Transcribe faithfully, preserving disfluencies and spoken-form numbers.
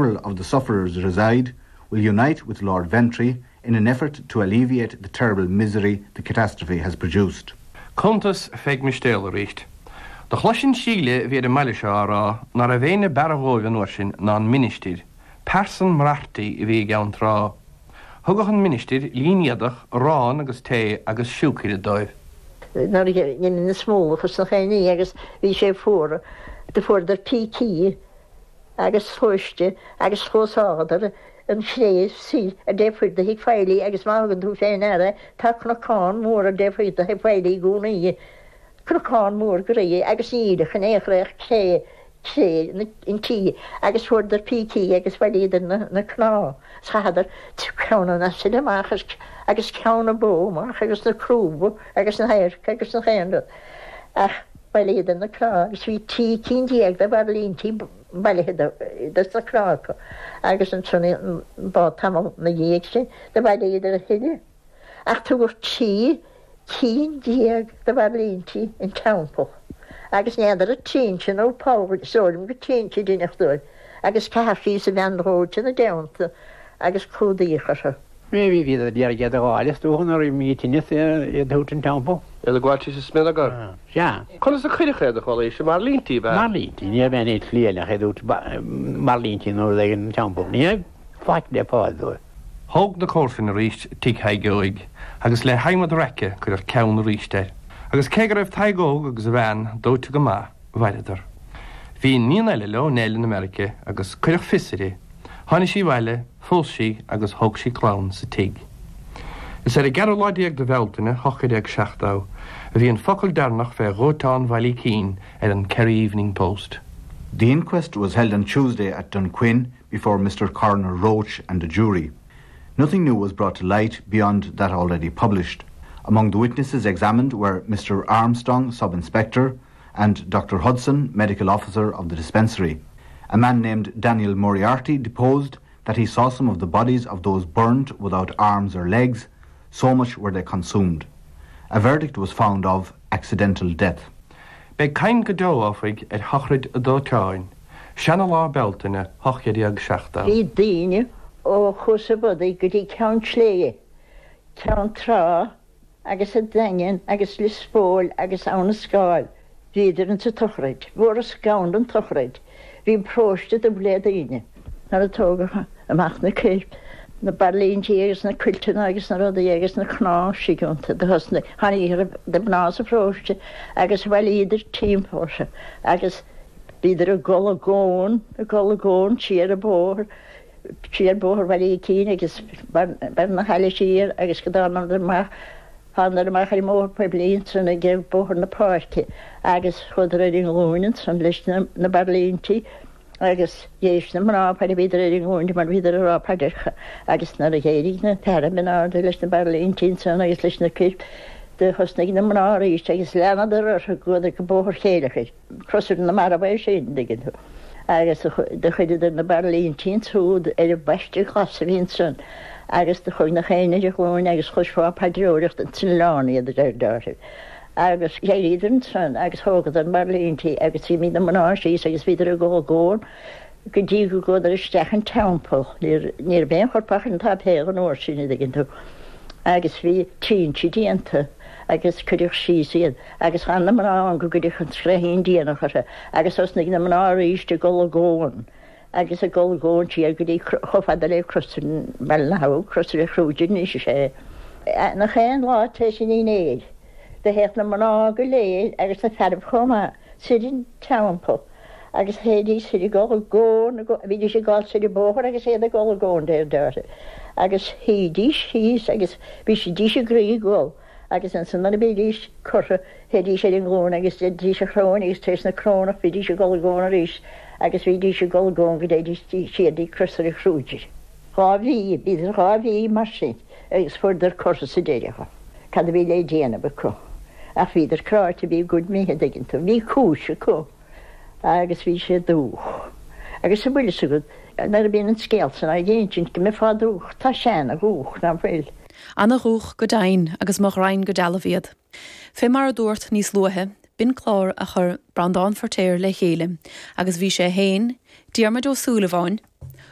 several of the sufferers reside, will unite with Lord Ventry in an effort to alleviate the terrible misery the catastrophe has produced. Cuntas Pheig Mistéil arís. Do chloisinn Síle a bhí ar an mbaile seo á rá ná raibh éinne b'fhearr dhóibh an uair sin ná an ministir, pearsan mrartaí a bhí i gCeann Trá. Thugadh an ministir línéadach, arán agus tae agus siúcra dóibh. Nuair a dhein na smólach is na chaonaí agus bhí sé fuar, do fuaireadar pící agus sluaiste agus chluaságadar an chré soir ar dtaobh thoir de Thigh Feighlí agus má thugann tú fé ndeara tá cnocán mór ar dtaobh thoir de Thigh Feighlí i gcónaí, cnocán mór groí agus níl ach in aon chor ach cré, cré an tí agus fuaireadar pící agus bhailíodar na, na cnámha is chaitheadar ceann an asail amach agus ceann na bó amach agus na crúba agus na hadharca agus nach aon rud ach bhailíodar na cnámha agus bhí trí cinn déag de bhairlintí bailithe dos na cnámha acu agus ansan ba tamall na dhiaidh sin do bhailíodar a thuilleadh ach tugadh trí cinn déag de bhairlintí an teampall agus n'fheadar an trinse nó poll is dóigh liom gur trinse a deineadh dóibh agus caitheadh síos i bheann dhóite ina dteannta agus clúdaíodh orthu. Bhí bhí iad iad a ghabháil is dócha nuair a bhí tinneas iad a thabhairt an teampall. Iad ag gabháil síos sa smionagar. Sea. Conas a cuireadh iad, a Chóilís? I mbairlintí, ab ea? Mbairlintí. Ní raibh aon tslí eile ach iad a thabhairt mbairlintí nó rud éigin an teampall. Ní raibh faic le fáil dóibh. Thóg na comharsain arís tigh Thaidhg Óig agus le hadhmad raice cuireadh ceann arís air. Agus cé go raibh Tadhg Óg agus a bhean dóite go maith, mhaireadar. Bhí iníon eile leo, Nell, in America agus cuireadh fios uirthi. Tháinig sí abhaile, phós sí agus thóg sí clann sa tigh. Is ar an gceathrú lá déag de Bhealtaine, ocht déag seachtó, a bhí an focal deireanach fé dhóiteán Bhaile Icín ar an Kerry Evening Post. The inquest was held on Tuesday at Dunquin before Mr Coroner Roach and a jury. Nothing new was brought to light beyond that already published. Among the witnesses examined were Mr Armstrong, sub-inspector, and Dr Hudson, medical officer of the dispensary. A man named Daniel Moriarty deposed that he saw some of the bodies of those burned without arms or legs, so much were they consumed. A verdict was found of accidental death. Beidh caint go deo, áfaigh, ar shochraid an dóiteáin, seana-Lá Bealtaine ocht déag seachtó. Bhí daoine ó Chuas an Bhodaigh go dtí Ceann Sléibhe, Ceann Trá agus an Daingean agus Lios Póil agus Abha na Scáil. Bhíodar insa tsochraid. Fuarthas gann don tsochraid. Bhí an paróiste dubh le daoine. Nuair a tógadh amach na coirp, na bairlintí agus na cuilteanna agus na rudaí agus na cnámha istigh iontu, do thosnaigh, tháinig na mná sa pharóiste agus bhailíodar timpeall orthu agus bhíodar ag dul i gcón, ag dul i gcón siar an bóthar, siar bóthar Bhaile Icín agus Barr na hAille siar agus go dtánadar amach, thánadar amach ar an mbóthar poiblí ansan ag Bóthar na Páirce agus chuadar ar a nglúine ansan leis na bairlintí agus d'éist na mná fad a bhíodar ar a nglúine mar bhíodar ag rá paidreacha agus nuair a d'éirigh na fearaibh in airde leis na bairlintí ansan agus leis na coirp do thosnaigh na mná arís agus leanadar orthu chuadar go Bóthar Chéileachair. Crosaire na Marbh é sin, an dtuigeann tú. Agus do chuireadar na bairlintí ansúd ar an bpaiste glas a bhí ansan agus do chuaigh nach éinne ar a ghlúine agus chloisfeá paidreoireacht ins an oileán iad a deir Dáithí. Agus d'éiríodar ansan agus thógadar na bairlintí agus d'imigh na mná síos agus bhíodar ag dul i gcón go dtí go gcuadar isteach an teampall. Ní raibh aon chorp ach ar an tsáipéal an uair sin, an dtuigeann tú. Agus bhí trinse déanta agus cuireadh síos iad agus chan na mná ann go gcuireadh an scréithín déanach orthu agus thosnaigh na mná arís ag dul i gcón agus ag dul i gcón siar go dtí chomh fada le Crosaire Bhaile na hAbha, Crosaire Kruger anois is ea. Nach aon lá tar éis an dinnéir do théadh na mná go léir agus na fearaibh chomh maith soir an teampall agus théidís soir ag dul i gcón, bhídís ag dul soir an bóthar agus iad ag dul i gcón deir Dáithí agus shuídís síos agus bhídís ag groí ag gol agus ansan nuair a bhídís curtha théidís ar a nglúine agus deinidís an chróin agus tar éis na crónach bhídís ag dul i gcón arís agus bhídís ag dul i gcón go dtéidís siar dtí Crosaire Kruger. Dhá mhí, bhíodar dhá mhí mar sin agus fuaireadar curtha sa deireadh. Cad a bhí le déanamh acu? Ach bhíodar cráite, bhí a gcuid imithe, an dtuigeann tú. Bhí cúis acu agus bhí sé dúch. Agus an bhfuil fhios agat, nuair a bhíonn an scéal san á insint go mbeifeá dúch, tá sé ana dhúch, ná fuil? Ana-dhúch go deimhin agus mo ghraidhin go dealbh iad. Fé mar a dúrt níos luaithe, b'in clár a chuir Breandán Feirtéar le chéile agus bhí sé féin, Diarmuid Ó Súilleabháin,